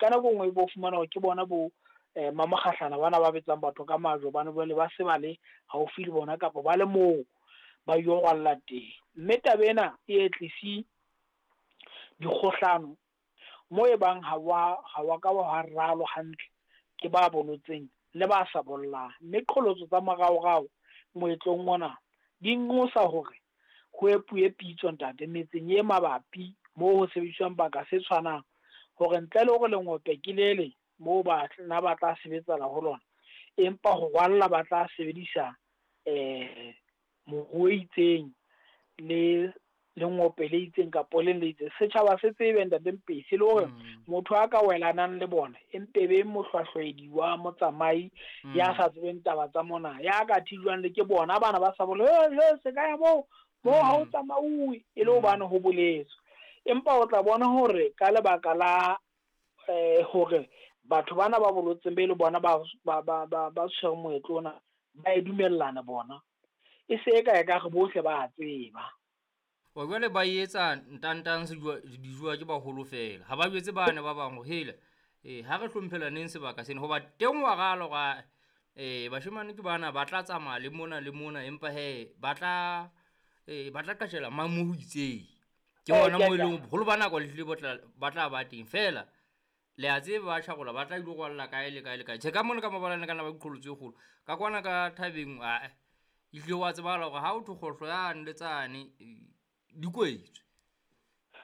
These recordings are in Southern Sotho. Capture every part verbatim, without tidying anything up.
Ka nako e nngwe bo fumana hore ke bona bo eh mamokgahlana bana ba betsang batho ka majwe, hobane jwale ba se ba le haufi le bona kapa ba le moo ba yo rwalla teng. Mme taba ena e tlisi dikgohlano mo e bang ha wa ha wa ka wa ralo hantle ke ba bolotseng le ba sa bollang. Mme qholotso tsa moraorao moetlong mona di nqosa hore ho epuwe pitso ntate metseng e mabapi moo ho sebediswang baka se tshwanang, hore ntle le hore lengope ke lele moo ba na ba tla sebetsana ho lona, empa ho rwalla ba tla sebedisa eh moruo e itseng le lengope le itseng kapa le le itseng. Setjhaba se tsebe ntate Mpesi le hore motho a ka welanang le bona empe be mohlwahlwaedi wa motsamai ya sa tsebeng taba tsa mona, ya ka thijwang le ke bona bana ba sa bole e se ka ya moo moo ha o tsamauwe e le hobane ho boletswe. Empa o tla bona hore ka lebaka la eh hore batho bana ba bolotseng be le bona ba ba ba ba ba tshwere moetlo ona ba e dumellana bona, e se e ka e ka re bohle ba tseba. Wa jwale ba etsa ntantang se dijuwa ke baholo fela. Ha ba jwetse bana ba bang hore hela eh ha re hlomphelaneng sebaka sena, hoba teng wa rala hore eh bashemane ke bana ba tla tsamaya le mona le mona, empa he ba tla eh ba tla qashela mang mo ho itseng. Ke hona mo eleng boholo ba nako le hlile bo tla ba tla ba teng fela. Le a tseba ba tjharola ba tla ilo rwalla kae le kae le kae. Tjhe ka mona ka mabalane kana ba diqholotso e kgolo. Ka kwana ka thabeng a ehlile wa tsebahala hore ha o thwe kgohlo yane le tsane di kwetswe.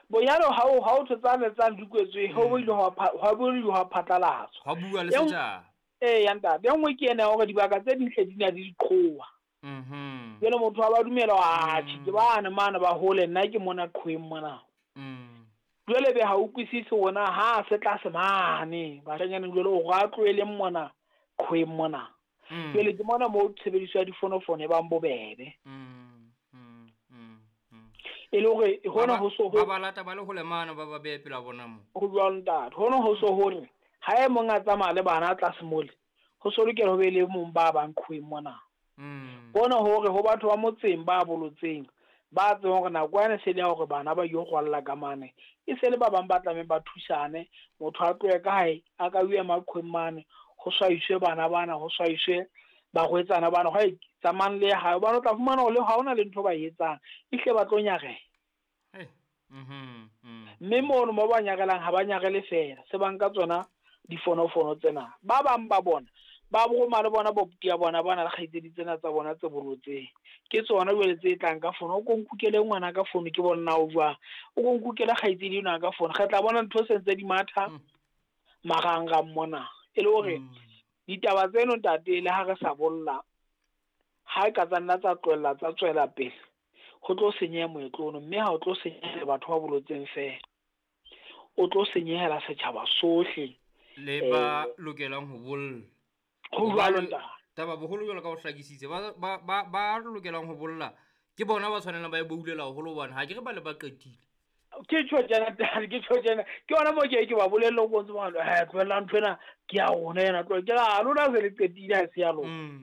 Bonyane ha o ha o thwe tsane tsane di kwetswe, ho ile hwa hwa bo hwa phatlalatswa. Hwa bua le setjhaba. Eh ya ntate, e nngwe ke ena hore dibaka tse ding hle di na le diqhowa. Mhm. Jwale motho wa ba dumela wa tjhe ke bana mane ba hole, nna ke mona qhoweng mona. Mm. Jwale be ha utlwisise hore ha se tlase mane bashanyana jwale o ra tlohele mona qhoweng mona. Jwale ke mona mo tshebediso ya difonofono e bang bobebe. Mm. Mm. Mm. E le hore hona ho so ba ba lata ba le hole mane ba ba behe pela bona mo. Ho jwalo ntate, hona ho so hore ha e mong a tsamaya le bana tlase mole, ho so lokela ho be le mong ba bang qhoweng mona. Mm. Bona hore ho batho ba motseng ba bolotseng ba tsebang hore nako ena se le ya hore bana ba yo rwalla ka mane, e se le ba bang ba tlamehang ba thusane. Motho a tlohe ka hae a ka o ema qhoweng mane, ho swaiswe bana bana, ho swaiswe barwetsana bana, hwa tsamayang le hae, hobane o tla fumana hore le ha hona le ntho ba e etsang, ehlile ba tlo nyareha. Eh, mhm, mhm. Mme mono mo ba nyarelang ha ba nyarele fela, se ba nka tsona difonofono tsena. Ba bang ba bona ba roma le bona bobuti ya bona ba na le kgaitsedi tsena tsa bona tse bolotseng. Ke tsona jwale tse tlang ka fono, o ko nkukele ngwana ka fono ke bona o jwang, o ko nkukele kgaitsedi ena ka fono. Re tla bona ntho se ntse di matha marangrang mona. E le hore ditaba tseno ntate le ha re sa bolla, ha e ka tsa nna tsa tlohella tsa tswela pele, ho tlo senyeha moetlo ono, mme ha o tlo senyehela batho ba bolotseng fela, o tlo senyehela setjhaba sohle le ba lokelang ho bolla. Ho jwalo ntate. Taba boholo jwalo ka ho hlakisitse, ba ba ba ba lokelang ho bolla ke bona ba tshwanelang ba e boulela haholo, hobane ha ke re ba le ba qetile. Ke tjho tjena ntate, ke tjho tjena. Ke yona moo ke ke ba bolelle ho bontse ba re, eh tlohella ntho ena ke ya rona ena, tlohella. Ke re, lona se le qetile ha se ya lona.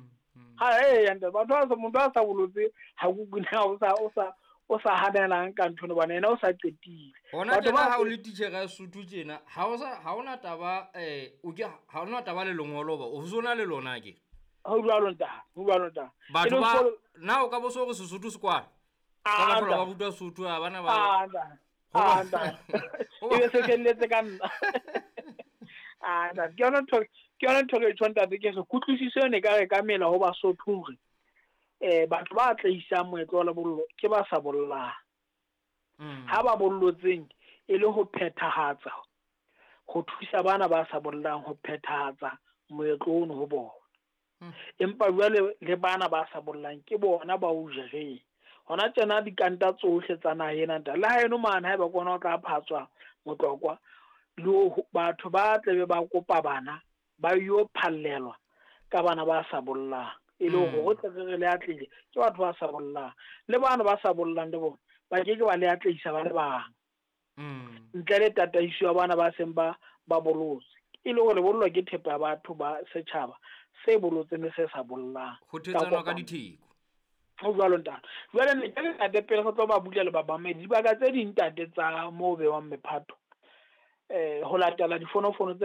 Ha eh ya ntate, batho ba sa motho a sa bolotse ha ku na o sa o sa o sa hanelang ka ntho hobane yena o sa qetile. Hona tjena ha o le titjhere ya Sotho tjena, ha o sa ha ona taba eh o ke ha ona taba le lengolo ba o sona le lona ke. Ho jwalo ntate, ho jwalo ntate. Batho ba na o ka bo so re Sesotho se kwala. Ka batho ba rutwa Sotho ha bana ba. Ah ntate. Ah ntate. E be se felletse ka nna. Ah ntate, ke yona ntho ke yona ntho ke tjho ntate, ke re kutlwisiso ene ka re ka mela ho Basotho hore eh batho ba tlaisang moetlo wa lebollo ke ba sa bollang. Ha ba bollotseng e le ho phethahatsa, ho thusa bana ba sa bollang ho phethahatsa moetlo ono ho bona. Empa jwale le bana ba sa bollang ke bona ba o jereng. Hona tjena dikanta tsohle tsa naha ena ntate, le ha eno mane haeba ke ona o tla phatswa motlokwa, le batho ba tlabe ba kopa bana ba yo phallelwa ka bana ba sa bollang. E le hore ho tle re le atlehile ke batho ba sa bollang, le bana ba sa bollang le bona ba ke ke ba le atlehisa ba le bang ntle le tataiso ya bana ba seng ba ba bolotse. E le hore lebollo ke thepa ya batho ba setjhaba se bolotseng le se sa bollang, ho thetsana ka ditheko. Ho jwalo ntate. Jwale ne ke ntate pele re tlo ba bula le ba bamedi dibaka tse ding ntate tsa moo bewang mephato eh ho latela difonofono tse